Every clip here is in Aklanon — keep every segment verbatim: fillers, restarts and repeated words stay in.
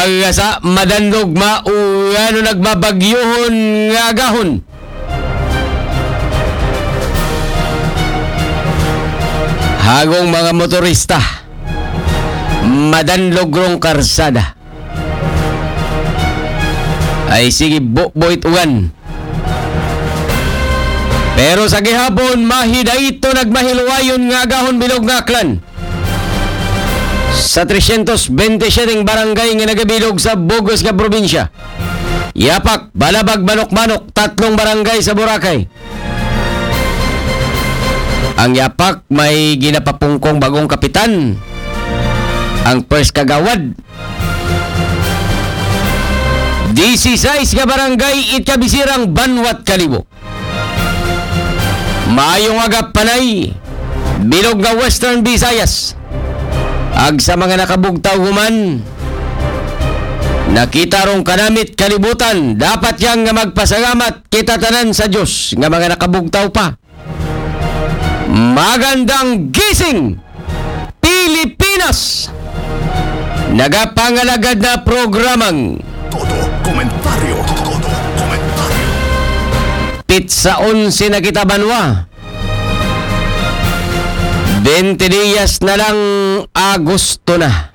Agasa, madanlog, maulan o nagmabagyuhon nga agahon. Hagong mga motorista, madanlog rong karsada. Ay sige, buboy uwan. Pero sa gihapon, mahidayto nagmahiluwayon nga agahon bilog nga aklan. Sa tresyentos bente siyete barangay nga nagabilog sa bugos nga probinsya, Yapak, Balabag, Manok-Manok, tatlong barangay sa Boracay. Ang Yapak may ginapapungkong bagong kapitan. Ang first kagawad, disisais nga barangay it kabisirang Banwat Kalibo. Maayong aga, Panay, bilog nga Western Visayas. Ag sa mga nakabugtaw human, nakita rong kanamit kalibutan, dapat yang nga magpasalamat kita tanan sa Diyos nga mga nakabugtaw pa. Magandang gising, Pilipinas! Nagapangalagad na programang Todo komentaryo, todo komentaryo. Pitsa onse na kita, banwa. Bente diyas na lang, Agosto na.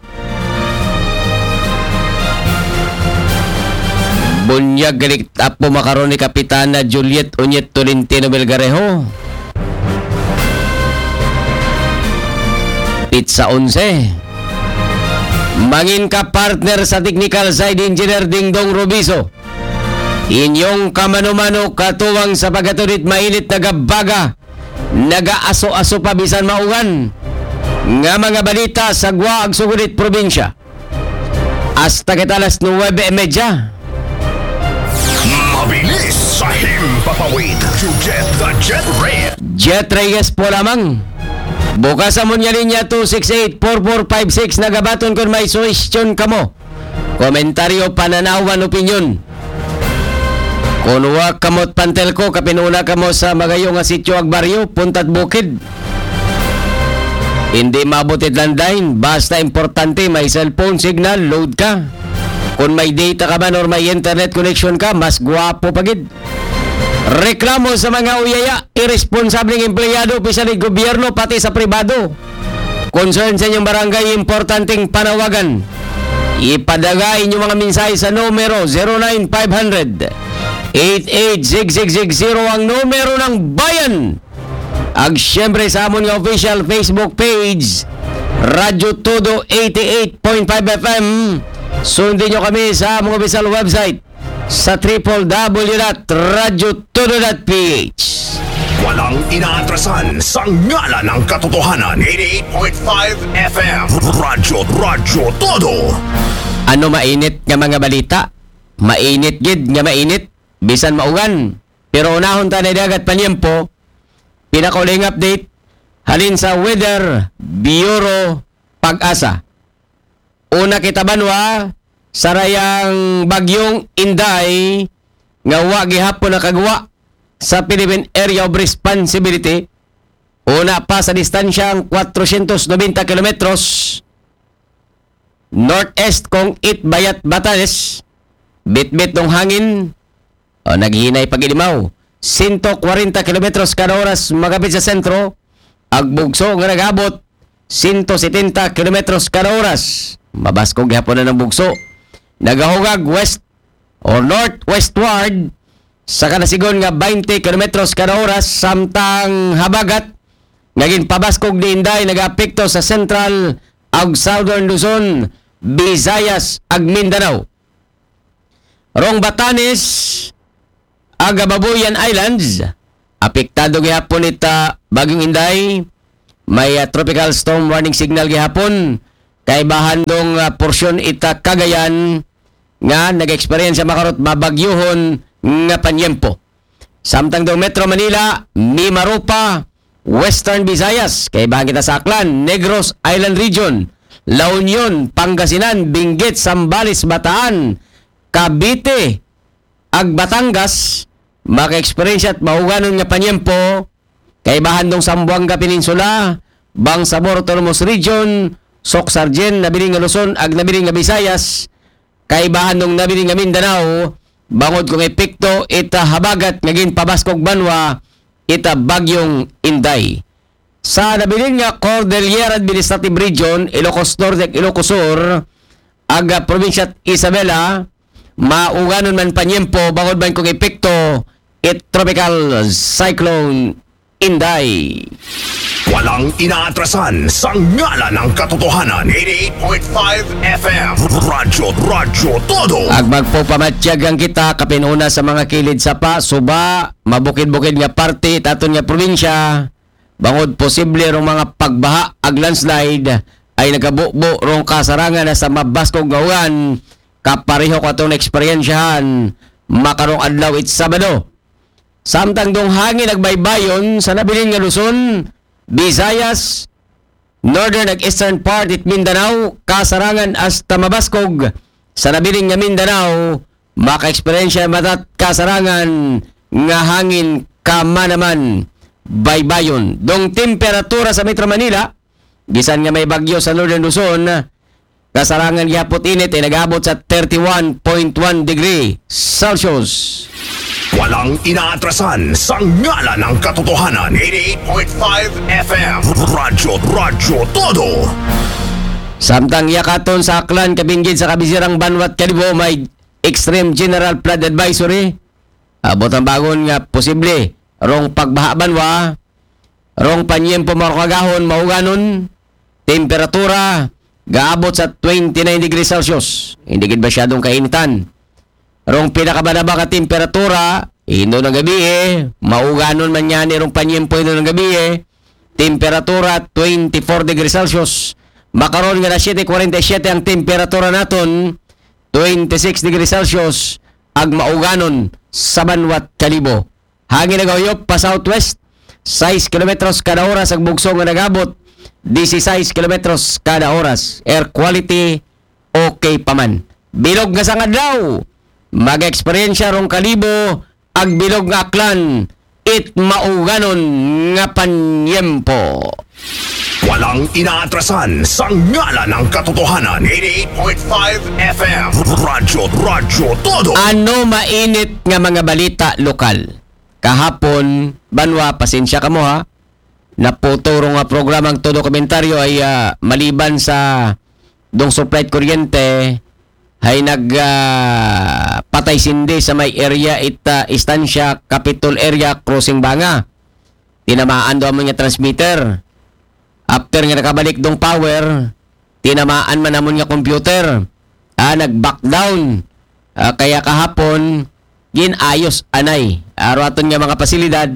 Bunyag galit apo makaron ni Kapitana Juliet Unyet Tolentino Belgarejo. Pitsa onse. Mangin ka partner sa technical side, Engineer Dingdong Robiso. Inyong kamano-mano katuwang sa pagkatudit mainit, nagabaga, nagaaso-aso pa bisan maugan nga mga balita sa gwa ag sugod it probinsya. Hasta kita alas nuwebe y medya. Mabilis sa himpapawid. Jet the Jet Red. Jet Reyes po lamang. Bukas amon nga linya two six eight four four five six, nagabaton kon may suhestyon kamo, komentaryo, pananawan, opinyon. Kon wa kamot pantel ko, kapinuna kamo sa magayo nga sityo ag baryo, puntat bukid. Hindi maabot it landline, basta importante may cellphone signal, load ka. Kung may data ka man or may internet connection ka, mas gwapo pa gid. Reklamo sa mga uyaya, irresponsableng empleyado, opisyal sa gobyerno, pati sa pribado. Concern sa inyong barangay, importanteng panawagan. Ipadala inyong mga mensahe sa numero zero nine five hundred eight eight six six six zero, ang numero ng bayan. Ag siyempre sa amon nga official Facebook page, Radyo Todo eighty-eight point five F M. Sundin nyo kami sa among official website sa triple W dot radyo todo dot P H. Walang inaatrasan sa ngalan ng katotohanan. Eighty-eight point five F M. Radyo, Radyo Todo. Ano mainit nga mga balita? Mainit gid nga mainit. Bisan maugan. Pero unahon ta na dagat panyempo. Pinakauling update halin sa Weather Bureau, PAGASA. Una kita banwa sa rayang bagyong Inday nga wa gihapon nakagwa sa Philippine Area of Responsibility. Una pa sa distansyang kwatrosyentos nobenta kilometros northeast kong Itbayat, Batanes, bitbit ng hangin o naghinay pag-ilimaw, sento kwarenta kilometros kada oras magapit sa sentro, ag bugso nga nag-abot sento setenta kilometros kada oras. Mabaskog gihapon na ng bugso. Nagahugag west o northwestward sa kanasigon nga twenty kilometros kada oras, samtang habagat nga ginpabaskog ni Inday nagaapekto sa Central ug Southern Luzon, Visayas ug Mindanao. Rong Batanes ug Babuyan Islands, apektado gihapon ita Bagyong Inday. May, ah, tropical storm warning signal gihapon kay bahandong, ah, porsyon ita Cagayan nga nag-eksperyensya makarot mabagyuhon nga panyempo. Samtang daw Metro Manila, Mimaropa, Western Visayas, kay bahang kita sa Aklan, Negros Island Region, La Union, Pangasinan, Benguet, Zambales, Bataan, Cavite, ag Batangas, maka-eksperyensya at mahuganon nga panyempo, kay bahandong Zamboanga Peninsula, Bangsamoro Autonomous Region, Soccsksargen, Nabiling nga Luzon, ag Nabiling nga Visayas, kaibahan dong nabilin nga Mindanao, bangod kon epekto ita habagat nga ginpabaskog banwa ita Bagyong Inday. Sa nabilin nga Cordillera Administrative Region, Ilocos Norte ug Ilocos Sur, ug, ah, probinsya Isabela, mauganon man panyempo bangod man kon epekto it Tropical Cyclone Inday. Walang inaatrasan sa ngalan ng katotohanan. Eighty-eight point five F M. Radyo, Radyo Todo. Ag magpapamatyag ang kita kapinuna sa mga kilid sa pa, suba, mabukid-bukid nga parte it aton nga probinsya, bangod posible rong mga pagbaha ag landslide ay nagabubo rong kasarangan na sa mabaskog nga uwan, kapareho ko atong eksperyensyahan makarong adlaw it Sabado. Samtang dong hangin ag baybayon sa nabilin nga Luzon, Visayas, northern ag eastern part it Mindanao, kasarangan hasta mabaskog sa nabilin nga Mindanao, makaeksperyensya matat kasarangan nga hangin kamanaman baybayon. Dong temperatura sa Metro Manila, bisan nga may bagyo sa Northern Luzon, kasarangan gihapot init ay nag-abot sa thirty-one point one degree Celsius. Walang inaatrasan sa ngalan ng katotohanan. Eighty-eight point five F M. Radyo, Radyo Todo. Samtang yakaton sa Aklan, Kabingid sa Kabisirang Banwat Kalibo, may extreme general flood advisory. Abot ang bagon nga posible rong pagbaha banwa, rong panyempo marong agahon mauganon, temperatura gaabot sa twenty-nine degrees Celsius. Hindi gid masyadong kainitan. Rong pinakabanaba nga temperatura, indo ng gabi eh, mauganon man yan rong panyempo indo ng gabi eh, temperatura twenty-four degrees Celsius. Makaron nga na siyete kwarenta y siyete ang temperatura naton, twenty-six degrees Celsius, ag mauganon sa banwat Kalibo. Hangin nagahuyop pa southwest, sais kilometros kada oras, ag bugso nga nagabot, disisais kilometros kada oras. Air quality, okay pa man. Bilog nga sang adlaw, mag-eksperyensya rong Kalibo ag bilog nga Aklan it mauganon nga panyempo. Walang inaatrasan sa ngalan ng katotohanan. Eighty-eight point five F M. Radyo, Radyo Todo. Ano mainit nga mga balita lokal? Kahapon, banwa, pasensya kamo ha. Naputol rong nga programang Todo Komentaryo ay, ah, maliban sa dong supply kuryente, hay nag, ah, patay sindi sa may area ita Estancia Capitol area crossing Banga. Tinamaan daw amon nga transmitter. After nga nakabalik dong power, tinamaan man amon nga computer. Ah, nag-back down. Ah, kaya kahapon, ginayos anay. Aro aton nga mga pasilidad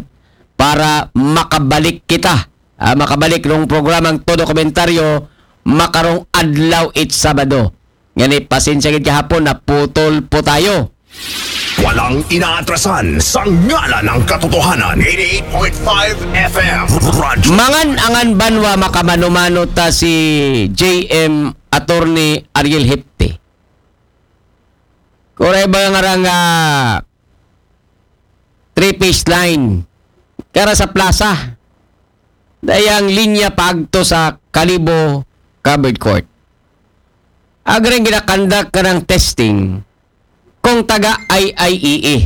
para makabalik kita. Ah, makabalik rong programang Todo Komentaryo, makarong adlaw it Sabado. Ngani, pasensya gid kahapon, naputol po tayo. Walang inaatrasan sa ngalan ng katotohanan. Eighty-eight point five F M. Radyo. Mangan-angan banwa makamano-mano ta si J M Attorney Ariel Hepte. Kuray ba nga rang, ah, three-phase line? Kara sa plaza. Dayang linya paagto sa Kalibo Covered Court. Agreng ginakandak ka ng testing kung taga I I E A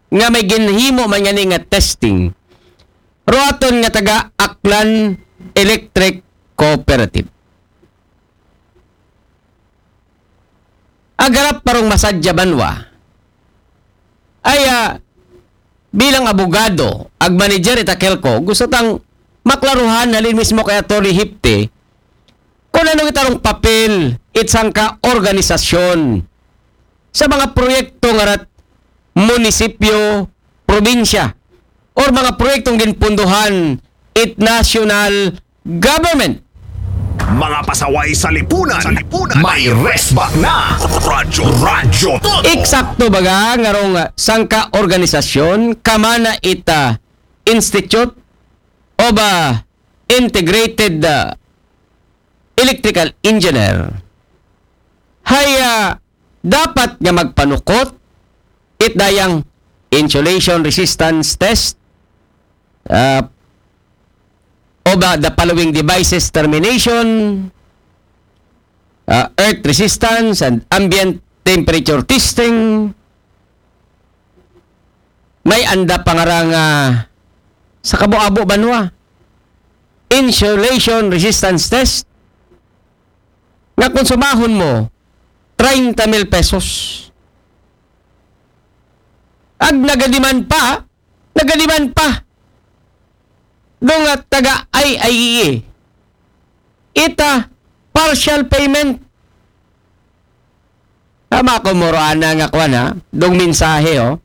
nga may ginhimo man yan nga testing, ruaton nga taga Aklan Electric Cooperative. Agarap parong masadya banwa. Ay, ah, bilang abogado, ag manager ita Kelco, gusto tang maklaruhan halin mismo kay Attorney Hipte kung ano itarong papel it sangka organisasyon sa mga proyekto nga rat munisipyo, probinsya, or mga proyektong ginpunduhan it national government. Mga pasaway sa lipunan. Sa lipunan. May resback na. Radyo, Radyo Todo. Eksakto baga nga rong sangka organisasyon, kamana ita Institute of, ah, Integrated, ah, Electrical Engineer, hay, ah, dapat nga magpanukot it dayang insulation resistance test, ah, of, ah, the following devices: termination, ah, earth resistance, and ambient temperature testing, may anda pa nga ra nga sa kabo-abo banwa, insulation resistance test, nga konsumahon mo, treinta mil pesos. Ag nagadiman pa, nagadiman pa. Doon nga taga I I E A. Ita, partial payment. Tama ko, Moroana, nga kwan, ha? Dong mensahe, oh.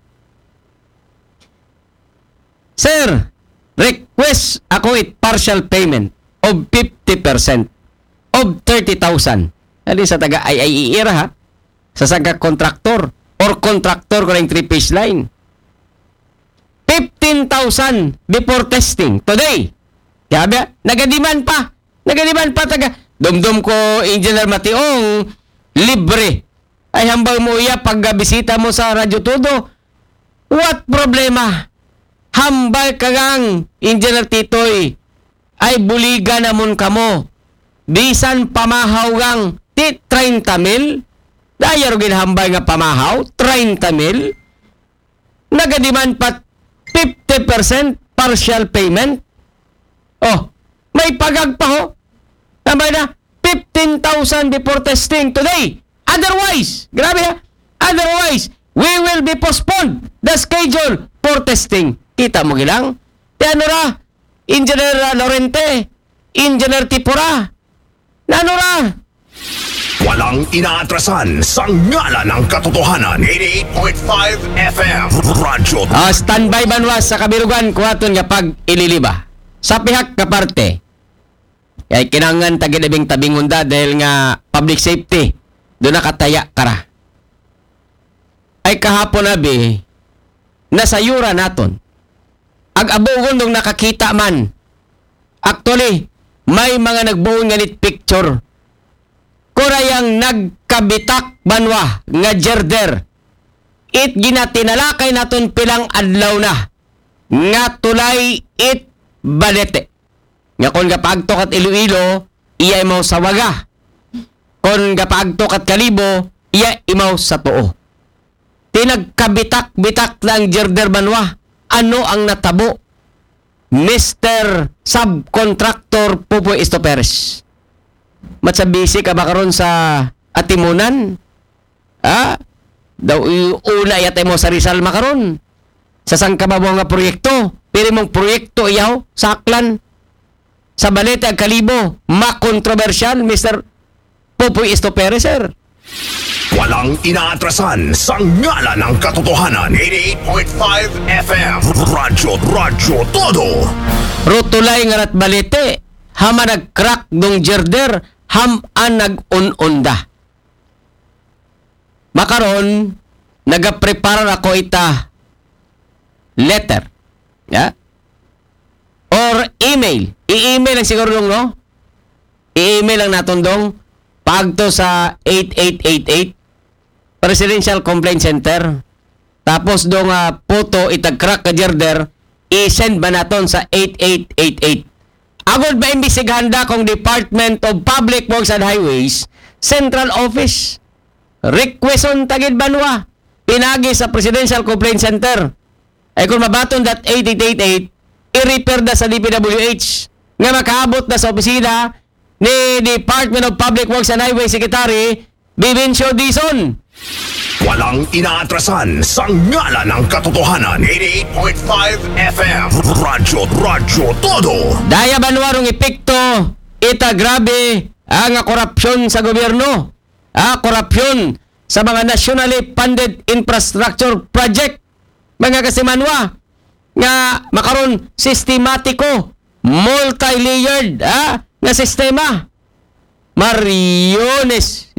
Sir, request ako it partial payment of fifty percent of thirty thousand. Ano sa taga I I E A ra, ha? Sa sangka contractor or contractor ko ng three-phase line. Fifteen thousand before testing today. Grabe, nagadiman pa. Nagadiman pa taga. Dumdum ko, Engineer Mationg, libre. Ay hambal mo iya pag bisita mo sa Radyo Todo. What problema? Hambal ka gang Engineer Titoy, ay buligan namon kamo. Bisan pamahaw gang ti treinta mil. Daya ro ginhambal nga pamahaw, treinta mil. Nagadiman pa fifty percent partial payment. Oh, may pagag pa ho. Tambay na, fifteen thousand before testing today. Otherwise, grabe ha, otherwise, we will be postponed the schedule for testing. Kita mo gilang? Ti ano ra, Engineer, ah, Lorente, Engineer Tipura, nano ra? Walang inaatrasan sa ngalan ng katotohanan. Eighty-eight point five F M. Radyo. Ah, standby banwa sa kabirugan, kuwaton nga pag-ililiba. Sa pihak ka parte, kay kinangan tagidabing tabingon da dahil nga public safety, doon nakataya kara. Ay kahapon abi, nasayura naton. Ag abugon dong nakakita man. Actually, may mga nagbuon nga nit picture. Kurayang nagkabitak banwa nga girder. It ginatinalakay naton pilang adlaw na nga tulay it balete. Nga kon gapaagto kat Iloilo, iya imaw sa Waga. Kon gapaagto kat Kalibo, iya imaw sa Tuo. Tinagkabitak-bitak na ang girder banwa. Ano ang natabo? Mister Subcontractor Pupoy Estoperes. Matsabisi ka ba karon sa Atimunan? Ha? Daw i-, una yata mo sa Rizal makaron. Sa sangkababaw nga proyekto. Pili mong proyekto iyaw sa Aklan. Sa Balete ag Kalibo, makontrobersyal, Mister Popoy Estopere, sir. Walang inaatrasan sa ngalan ng katotohanan. Eighty-eight point five F M. Radyo, Radyo Todo. Rutulay nga rat Balete, hama nag-crack dong girder, ham an nag-un-unda. Makaron, nagaprepara ako ita letter. Ya? Or email. I-email lang siguro dong, no? I-email lang naton dong. Pagto sa eight eight eight eight Presidential Complaint Center. Tapos dong ah, photo itag crack ka girder, i-send ba naton sa eight eight eight eight. Agod ba imbestigahan da kung Department of Public Works and Highways, Central Office. Requeston tagid banwa. Pinagi sa Presidential Complaint Center. Ay kung mabaton that eight eight eight eight, i-refer da sa D P W H nga makaabot na sa opisina ni Department of Public Works and Highway Secretary Vivencio Dizon. Walang inaatrasan sa ngalan ng katotohanan. Eighty-eight point five F M. Radyo, Radyo Todo. Daya banwa rong epekto ita grabe ang korupsyon sa gobyerno. Ah, korupsyon sa mga nationally funded infrastructure project. Mga kasimanwa, nga makaron sistematiko, multi-layered, ah, nga sistema. Mariones